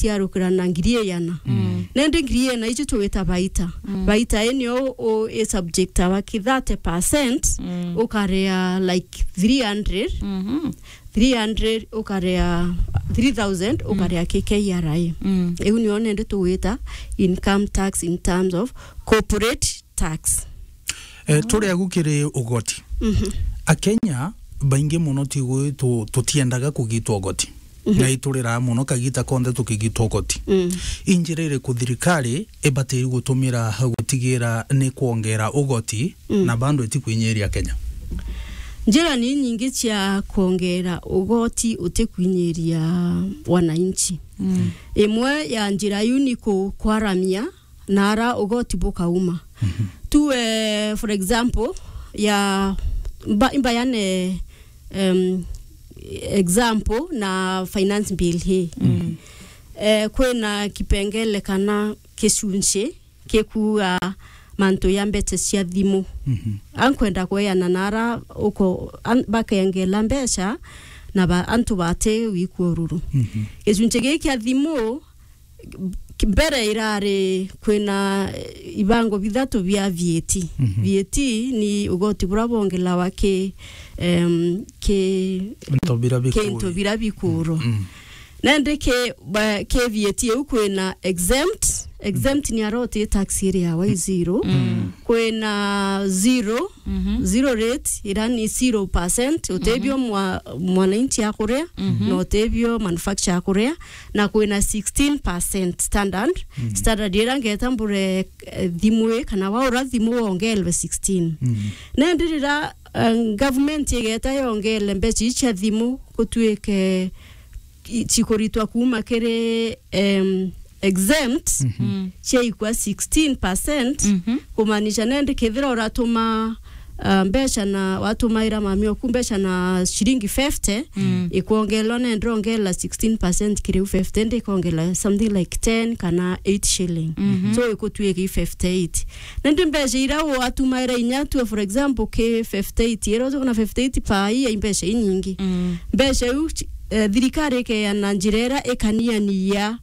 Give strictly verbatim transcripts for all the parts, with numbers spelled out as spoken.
ciarukira na ngiri igana. Mm. Nende ngiri igana icio tugwita baita. Mm. Baita ii nio u-, i subject awa ki thirty percent, mm, ukarea like three hundred. Mhm. Three hundred ukarea, three thousand, mm, ukarea ki K R A. Mm. Iu nio nende tugwita income tax in terms of corporate tax. Eh, turi agu kiri ugoti. Mhm. Akenya baingi muno tigwi tu-, tutiendaga kugitwa ugoti. Mhm. Na ituriraa muno kagita konthe tukigitwa ugoti. Mm. I njira iriku thirikari ibatiri gutumira gutigira ni kwongera ugoti, mm, na bando itikwinyiria Kenya? Njira ni nyingi cia kwongera ugoti utikwinyiria wananchi. Mm. Imwe ya njira iu ni ku-, kwaramia na ara ugoti bukauma. Mhm. Tu, eh, for example, ya mba-, imbayane, em, example na finance bill hii. Mm. Eh, kwina kipengele kana kicunci kikuuga mantu ya mbeca cia thimu. Mhm. Ankwenda kweana na ara uko-, an-, bakengela mbeca na ba-, antu bati wikua ururu. Mhm. Gicunci giki kia thimu, mbere irari kwina, eh, ibango bithatu bia V A T. Mhm. V A T ni ugoti bura bongelawa ki, em, ki into bira ki into bikuru. Bira bikuru. Mm. Nandi ki, ba-, ki V A T iu kwina exempt. Exempt ni aroti tax iri yawa i zero. Mm. Kwina zero, mhm, zero rate, ira ni zero percent, utebio, mhm, mwa-, mwananchi akuria, mhm, na utebio manufacturer akuria, na kwina sixteen percent standard. Mm. Standard ira ngeta mbure, eh, thimu ii, kana waura thimu wongelwe sixteen. Mm. Nandi rira, eh, government igeta yongele mbeca ii cia thimu, gutuike i-, cikuritwa kuuma kiri, em, exempt, mhm, mm, ciaikua sixteen percent, mhm, kumaanisha nandi kethira uratuma, ah, mbeca na watumaira mami oku mbeca na ciringi fifty, mm, ikwongelwa nandi ongela sixteen percent kiri u fifty, ndi ikwongela something like ten kana eight shilling. Mhm. So ikutuika i fifty-eight. Nandi mbeca ira watumaira inya tu, for example, ki fifty-eight, ira utukuna fifty-eight per year, i mbeca inyingi. Mm. Mbeca iu, eh, thirikari ikeana njira ira ikaniania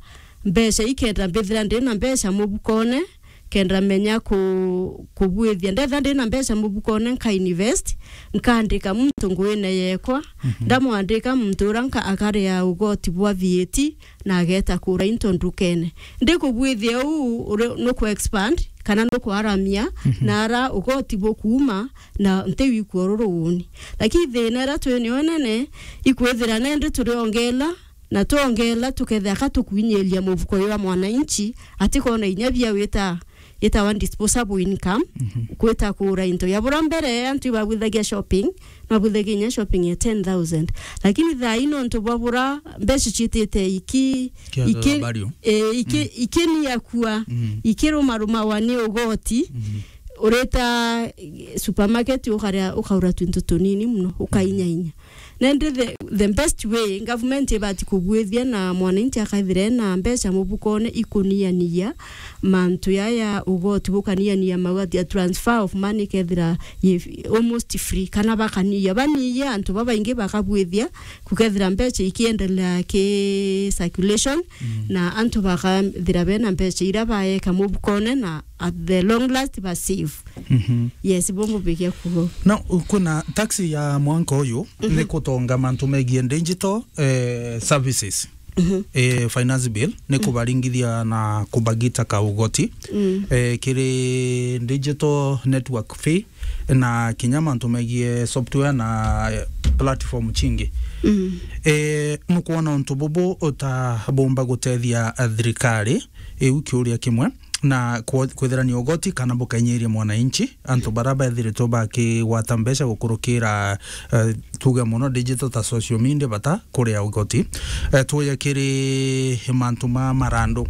mbeca ikenda mbithira ndina mbeca mubukone, kenda menya ku-, kubwithia. Ndetha ndina mbeca mubukone, nka invest, nkandika muntu nguine yekwa, mhm, ndamwandika muntu ura nka-, akaria ugoti bwa V A T, na ageta kura into ndukene. Ndi kubwithia uu, uri-, nuku expand, kana nuku aramia, mhm, na ara ugoti bukuuma, na nti wikua ururu uuni. Lakini thina ira twi nio nene, ikwithira nende turiongela, na twongela tukethira ka tukwinyiria mufuko jwa mwananchi, atikona inya bia wita, itawa disposable income, mhm, kwita kura into. Ya bura mbere, antu ibabwithagia shopping, mabwithagia inya shopping ya ten thousand. Lakini thaa ii nontu bwa bura mbeca ciitite iki-, Kiaga iki-, value. Eh, iki-, mm, ikinia kua, mm, ikirumarumawa ni ugoti, mhm, urita supermarket ukaria, ukaura twinto tunini muno, ukainyainya. Nandi the, the best way government ibati kubwithia na mwananchi akaithira ena mbeca mubukone ikuniania mantu yaya ugoti bukaniania mauati ya transfer of money kethira ye almost free, kana bakaniia, baniia antu babaingi bakabwithia kukethira mbeca ikiendelea ki circulation, mm, na antu bakathira bena mbeca ira baeka mubukone na at the long last ba save. Mhm. Yes, bo mbubikia kugo. Na kwina tax ya mwanka uyu, mhm, ni kutonga mantu megie digital, eh, services. Mhm. Eh, finance bill ni, mm, kubaringithia na kubagita ka ugoti, mm, eh, kiri digital network fee na kinya mantu megie software na, eh, platform cingi. Mm. Eh, nukwona untu bubu utabumba gutethia, eh, thirikari? Iu kiuria kimwe. Na kwo-, kwithira ni ugoti kana bukainyiria mwananchi, antu bara bethiritwe bakigwata mbeca gukurukira, eh, tuge muno digital ta social media bata kuria ugoti. Eh, tuye kiri mantu ma marandu.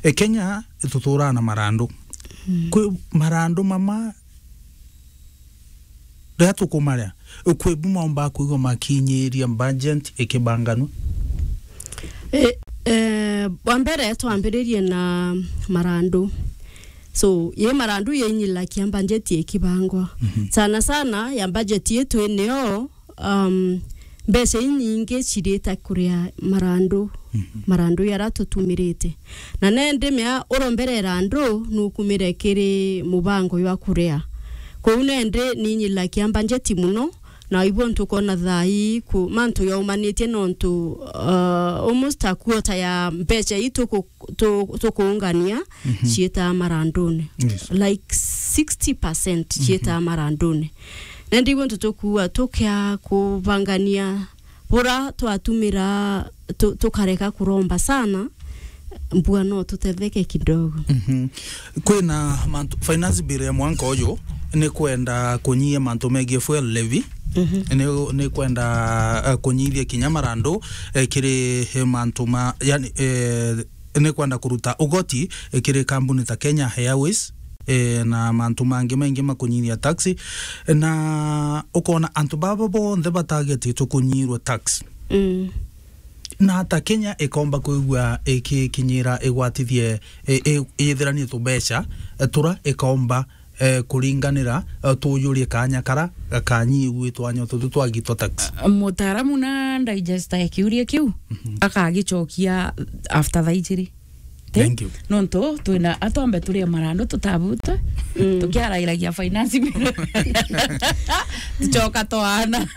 E, Kenya tuturaa na marandu. Mm. Kwi marandu mama riria tukumaria, kwi bu maumba kwigua makinyiria budget ikibanganua? E, e, bwa mbere twambiririe na marandu. So, ye marandu yainyirakia budget ikibangwa. Mhm. Sana sana ya budget yetu inio, um, mbeca inyingi cirita kuria marandu, marandu yara tutumirite. Na nende mea uromberera andu nukumire kiri mubango jwa kuria. Kou nende ninyilakia mbanjeti muno, na ibo ntukona thaa ii ku, mantu yaumanitie nontu, uh, almost a quarter ya mbeca ii tuku-, tu-, tukuungania ciitaa marandune. Yes. Like sixty percent ciitaa marandune. Na ndigwo ntu tukuua tukia kubangania bura twatumira tu-, tukareka kuromba sana, mbua no tutetheke kidogo. Mhm. Kwina mantu, finance bill ya mwanka uyu ni kwenda kunyia mantu megie fuel levy. Mhm. Ni, ni kwenda, eh, kunyithia kinya marandu, eh, kiri, eh, mantu ma, yani, eh, ni kwenda kuruta ugoti, eh, kiri kambuni ta Kenya Airways, eh, na mantu mangi maingi makunyithia taxi. Na ukona antu baba bonthe batagititwe kunyirwa tax. Mm. Na ata Kenya ikomba kwigua ikikinyira igwatithie, i-, i-, iyithiranie tubeca, eh, tura ikomba, eh, kuringanira, eh, tuujurie kanya kara gakanyiigwitwa nyo tutu twagitwa tax. Mutaaramu na digester ya kiuria kiu, akagicokia after thaa ijiri. Ti? Thank you. Nontu twina atwambe turie marandu tutabutwe, tukiarairagia finance bill. Tucoka twaana.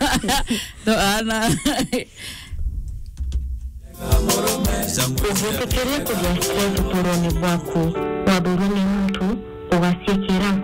Twaana. Ugwitikiria kugia stress utuurone bwaku, wathurwa ni